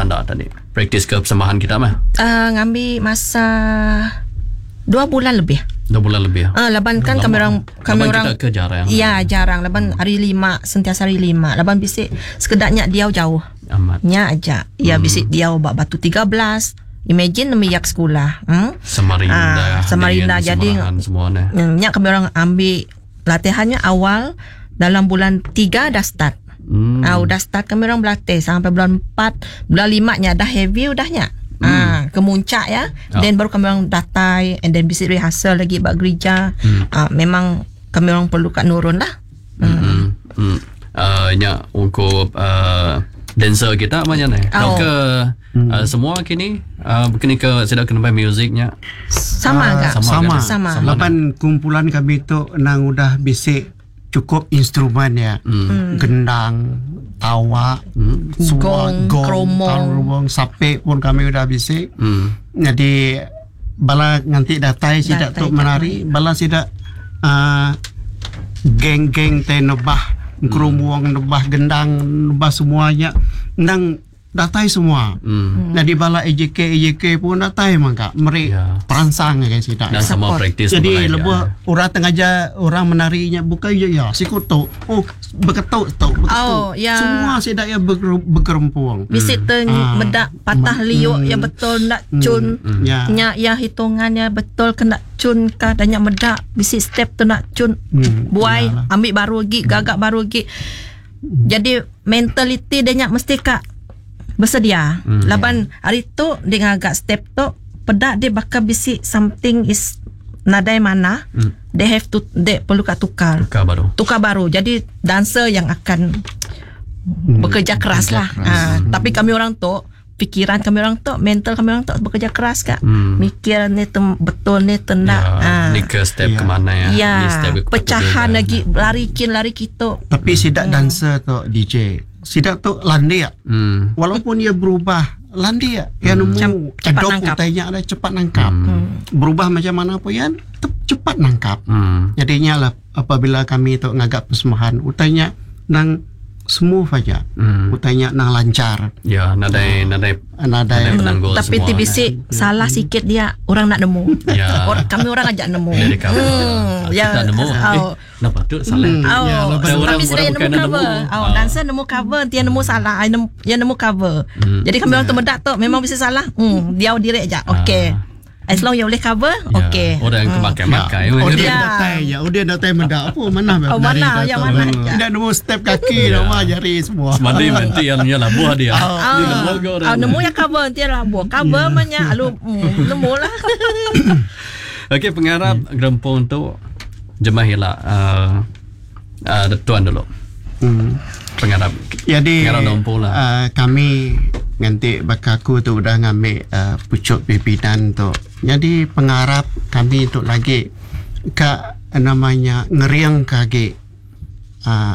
betanda tadi? Praktis ke persembahan kita meh. Uh, ngambi masa dua bulan lebih. Dua bulan lebih. Ah, laban kan kami orang kami laban orang kita ke jarang. Ya, jarang laban hari lima sentiasa hari lima. Laban bisi sekedaknya diau jauh. Amat. Nya aja. Ya bisi diau ba Batu 13. Imagine nemiak sekolah. Samarinda. Ah, Samarinda dengan jadi Semarahan semua ni. Nya kami orang ambil latihannya awal dalam bulan 3 dah start. Ah, udah start kami orang berlatih sampai bulan 4, bulan 5 nya dah heavy udahnya. Ah, ke muncak ya. Oh. Then baru kami orang datai and then bisi rehearsal lagi ba gereja. Ah, memang kami orang perlu kat nurun lah. Hmm. Hmm. Nya ungkup dancer kita macam ni. Oh. Ke semua kini kini ke sida kena main musiknya. Sama agak. sama Sama. kan? Sama. Sama. Laban kumpulan kami tu nang udah bisik cukup instrumen ya. Gendang, tawak, semua Gong, keromong. keromong, sape pun kami udah bisik. Jadi bala nganti datai sidak Datai tu menari, bala sidak geng-geng teh nebah keromong, nebah gendang, nebah semuanya nang datai semua. Jadi bala AJK AJK pun datai mangka meri Ya. perangsang ke sidak. Dan sama Support. praktis Jadi mulai lebuh dia. orang tengah orang menarinya bukan ya ya siku tu. Oh beketuk tu beketuk. Oh, ya. Semua sidak ya berkerempung. Bisi te Ah. medak patah liuk ya betul nak cun. Ya. Nya ya hitungannya betul kena cun kah dan nya medak bisi step tu nak cun buai yalah. ambil baru lagi gagak baru lagi. Jadi mentality dia nya mesti kak bersedia. Laban hari tu dia ngagak step tu pedak dia bakal bisi something is nadai mana. They have to they perlu kat tukar. Tukar baru. Tukar baru. Jadi dancer yang akan bekerja keras lah. keras. Ha, Tapi kami orang tu fikiran kami orang tu, mental kami orang tu bekerja keras kak. Mikir ni tem, betul ni tendak. Ya, Ha. ni ke step Ya. ke mana ya? Ya, Ni step ke pecahan patut lagi lari kin lari kitu. Tapi sidak dancer tu DJ. Sidak tu landia. Walaupun ia berubah landia. Ya nemu Macam cepat adopt nangkap. utainya ada cepat nangkap. Berubah macam mana pun ya tetap cepat nangkap. Jadinya lah apabila kami tu ngagak persembahan utainya nang smooth aja. Utainya nang lancar. Ya, nadai nadai Nadai nadai penanggul Tapi semua. TBC salah sikit dia orang nak nemu. Ya. Or, kami orang ajak nemu. Dari kamu. Ya. Kita nemu. Eh, Oh. kenapa tu salah? Oh, Ya, lepas tu tapi orang- sudah orang yang bukan nemu nak cover. nemu. Oh, Ah. dancer nemu cover, dia nemu salah, ai nemu, dia nemu cover. Jadi kami orang tu medak tu memang bisa salah. Dia direct je. Okey. As long you boleh cover, Ya, okey. Orang yang kemakai-makai. Oh dia Ya. datai ya, oh dia datai mendak apa mana Oh, mana, ya, mana, ya. Tidak nemu step kaki nama jari semua. Semadi nanti yang nya labuh dia. Ah, Dia nemu ke orang. ah, nemu yang cover dia lah buat cover yeah. alu nemu lah. Okey, pengarap gerempung tu jemah hila tuan dulu. Pengarap. Jadi Pengarap nompu lah. Kami nganti bakaku tu udah ngambil pucuk pimpinan tu. Jadi pengarap kami tu lagi ka namanya ngeriang kagi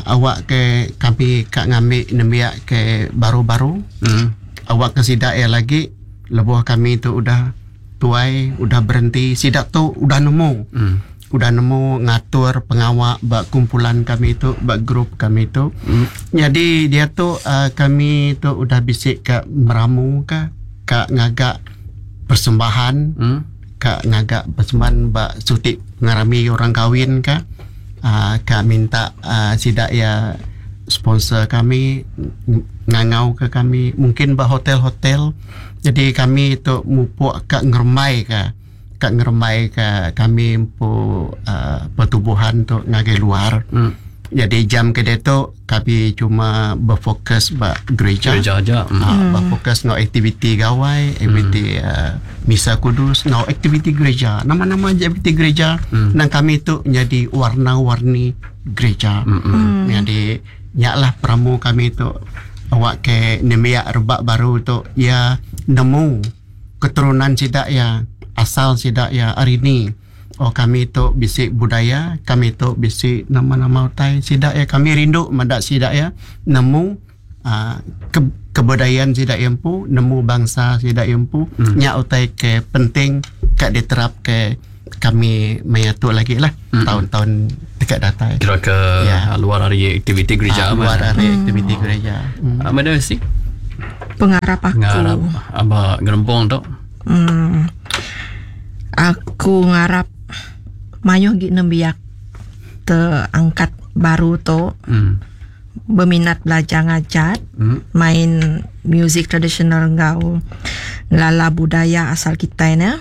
awak ke kami kak ngambil nembiak ke baru-baru. Awak ke sidak ya lagi lebuh kami tu udah tuai udah berhenti sidak tu udah nemu. Udah nemu ngatur pengawak bak kumpulan kami tu bak grup kami tu. Jadi dia tu kami tu udah bisik ke meramu ke kak ngagak persembahan kak ngagak persembahan bak sutik ngarami orang kahwin ke kak minta sidak ya sponsor kami ngangau ke kami mungkin bah hotel-hotel jadi kami tu mupuk kak ngermai ke kak ngermai ke kami empu pertubuhan tu ngagai luar jadi jam ke dia tu kami cuma berfokus bak gereja Gereja aja. Berfokus ngau aktiviti gawai, aktiviti misa kudus, ngau aktiviti gereja. Nama-nama aja aktiviti gereja. Dan kami tu jadi warna-warni gereja. Jadi nyaklah pramu kami tu awak ke nemiak rebak baru tu ya nemu keturunan sidak ya asal sidak ya hari ni. Oh kami tu bisik budaya, kami tu bisik nama-nama utai sidak ya kami rindu mendak sidak ya nemu kebudayaan sidak empu, nemu bangsa sidak empu, nyak utai ke penting kat diterap ke kami menyatu lagi lah tahun-tahun dekat datai. Kira ke Ya. luar hari aktiviti gereja. Luar hari aktiviti gereja. Madam si. Pengarap aku. Ngarap aba gerempung tu. Hmm. Aku ngarap mayuh gi nembiak terangkat baru tu berminat belajar ngajat main muzik tradisional enggau ngelala budaya asal kitai ne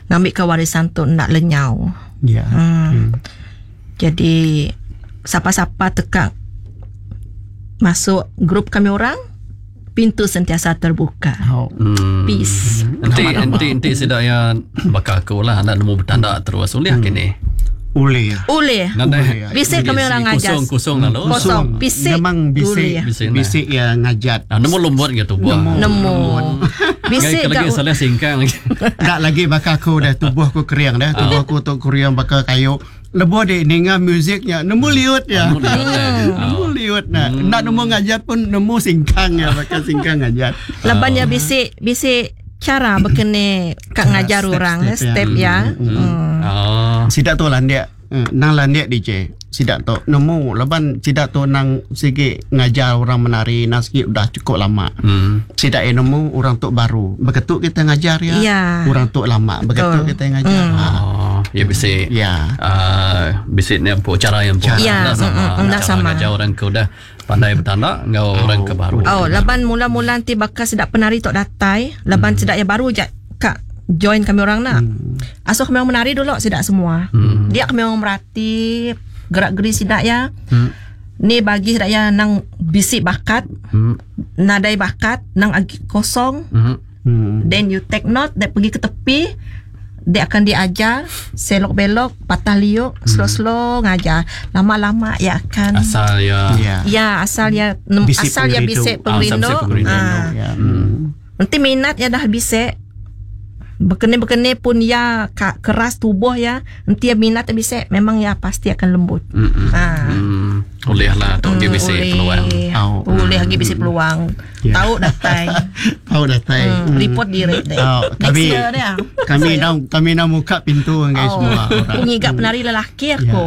ngambika warisan tu enda lenyau. Ya. Hmm. Jadi sapa-sapa teka masuk grup kami orang pintu sentiasa terbuka. Oh. Peace. Enti enti enti sida iya baka aku lah enda nemu betanda terus ulih kini. Ulih. Ulih. Nadai. Bisi kami orang ngajar. Kosong kosong lalu. Kosong. Bisik. Memang Ulih. bisik. Bisik, nah. Bisik ya ngajat. Ah, nemu lembut ke tubuh. Nemu. Bisik Lagi gak salah singkang lagi. Tak lagi baka aku dah tubuh aku kering dah. Tubuh aku tu kering baka kayu. Lebuh dek ninga muziknya nemu liut ya. Nemu liut, eh. Nemu liut nah. Nak nemu ngajat pun nemu singkang ya baka singkang ngajat. Laban ya bisik bisik cara bekene kak ngajar step, orang step, ya. step ya. Hmm. Oh. Sidak tu landik nang landik DJ. Sidak tu nemu laban sidak tu nang sigi ngajar orang menari nang sigi udah cukup lama. Sidak yang nemu orang tu baru. Begitu kita ngajar ya. Ya. Orang tu lama. Begitu Betul. kita ngajar. Ha. Oh, ya bisik. Ya. Bisik ni apa cara yang Cara. Ya, Enda sama. enda Cara sama. Ngajar orang ke udah pandai bertanda ngau orang ke baru. Oh, laban mula-mula nanti bakal sedak penari tok datai, laban sedak yang baru je kak join kami orang nak. Asuh kami orang menari dulu sedak semua. Dia kami orang merati gerak-geri sedak ya. Ni bagi sedak ya nang bisik bakat, nadai bakat, nang agi kosong. Then you take note, dia pergi ke tepi, dia akan diajar selok belok, patah liuk, slow-slow ngajar. Lama-lama ia akan Asal ya. Ya. Ya asal ya Bisik asal ya pengerindu. bisik Ah, asal pengerindu. bisik pengerindu. Ah. Ya. Hmm. Nanti minat ya dah bisik. Bekene-bekene pun ya keras tubuh ya. Nanti ya minat ya bisik memang ya pasti akan lembut. Ah. Boleh lah tu dia bisik Boleh. peluang. Oh. Boleh lagi bisik peluang. Ya. Tahu datai. Tahu datai. Report diri deh. Oh, Next kami year dia. kami nak kami nak buka pintu dengan Oh, semua aku orang. ngigap penari lelaki aku.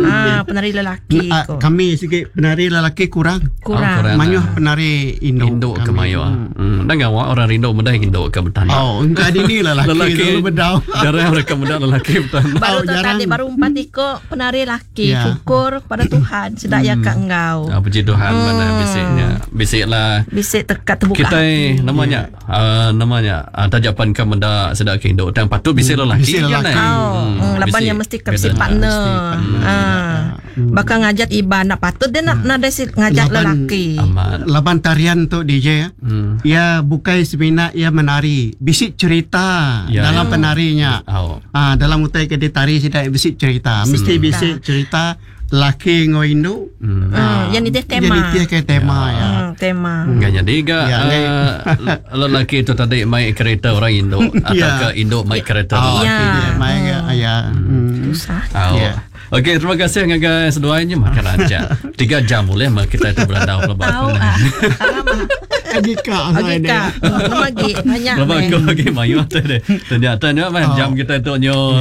Ah, penari lelaki Ah, aku. kami sikit penari lelaki kurang. Kurang. Oh, kurang. Mayuh penari induk. Induk ke kami. mayu. Dan ngawak orang rindu mudah induk ke bertanda. Oh, engkau ini lelaki, Lelaki dulu bedau. Jarang mereka muda lelaki bertanda. Baru Oh, tu jarang. tadi baru empat ikut penari laki. Ya. Syukur pada Tuhan sedak ya kak engkau. Ah, puji Tuhan mana bisiknya. Bisiklah Bisik tekat terbuka. kita namanya namanya tajapan ke menda sedak ke induk dan patut bisik lelaki Bisik kan, lelaki. eh? Oh, laban bisik yang mesti ke si beda. partner. Mesti partner. Ah. Bakal ngajat iban nak patut dia nak nak si ngajat Laban- lelaki. Amat. Laban tarian tu DJ ya. Ya bukan semina ia menari, bisik cerita Ya, dalam ya. penarinya. Oh. Ah dalam utai ke ditari sidak bisik cerita. Mesti bisik cerita laki ngau induk. Yang itu tema. Yang itu ke tema ya. Tema. Enggak jadi ke Ya, lelaki itu tadi main kereta orang induk atau Ya. ke induk main kereta Oh, lelaki. Ya. okey, dia main ke ya. Susah. Oh. Ya. Okey, terima kasih ngagai seduainya makan aja. 3 jam boleh mah kita itu berandau lebat. Tahu ah. Agika Okey kak. Belum lagi banyak. Lepas meh. aku lagi mayu tu deh. Ternyata nya mah jam kita tu nyo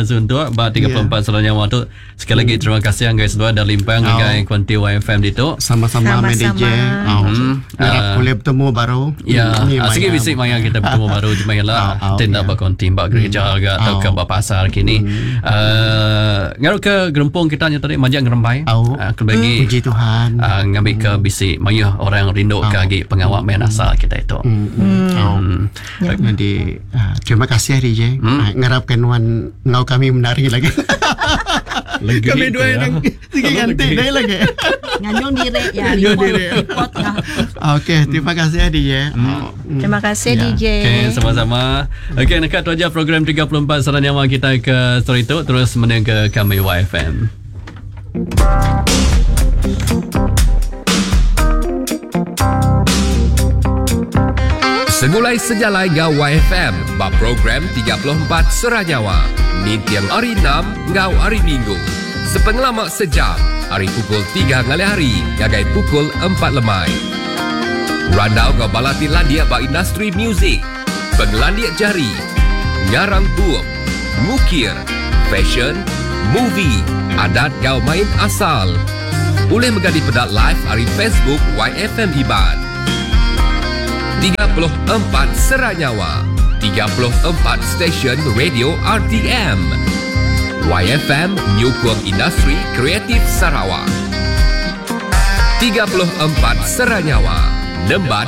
suntuk ba 34 yeah. waktu. Sekali lagi terima kasih ngagai seduai dah limpang Oh. ngagai Kuanti YFM ditu. Sama-sama main Sama-sama. DJ. Oh. Harap Ah. boleh bertemu baru. Ya, Ni ah, sikit maya. bisik maya kita bertemu baru jemaah lah. Oh, oh, Tindak ya. berkonti bak gereja ke atau ke Oh. bak pasar kini. Ngaruh ke gerempung kita nya tadi majak ngerembai. Oh. Aku bagi Puji Tuhan. Ngambil ke bisik maya orang rindu ke lagi pengawak main asal kita itu. Oh. Jadi terima kasih DJ. Ngarapkan wan ngau kami menari lagi. Lagi kami dua ya. yang sige ganti deh lagi. Nganyong diri ya. Nganyong Report, diri. report lah. Okey, terima kasih DJ. Oh. Terima kasih Ya. DJ. Okey, sama-sama. Okey, dekat tu aja program 34 Saran Nyawa kita ke story itu terus mendengar ke kami YFM. Segulai sejalai ngau YFM bab program 34 Seranyawa. Nintiang hari 6 ngau hari Minggu. Sepengelama sejam, hari pukul 3 ngalih hari, gagai pukul 4 lemai. Randau ngau balati landia ba industri muzik. Pengelandia jari, ngarang bup, mukir, fashion, movie, adat gau main asal. Boleh mengganti pedak live hari Facebook YFM Iban. 34 Seranyawa 34 stesen radio RTM. YFM nyukung industri kreatif Sarawak. 34 Seranyawa Nemban.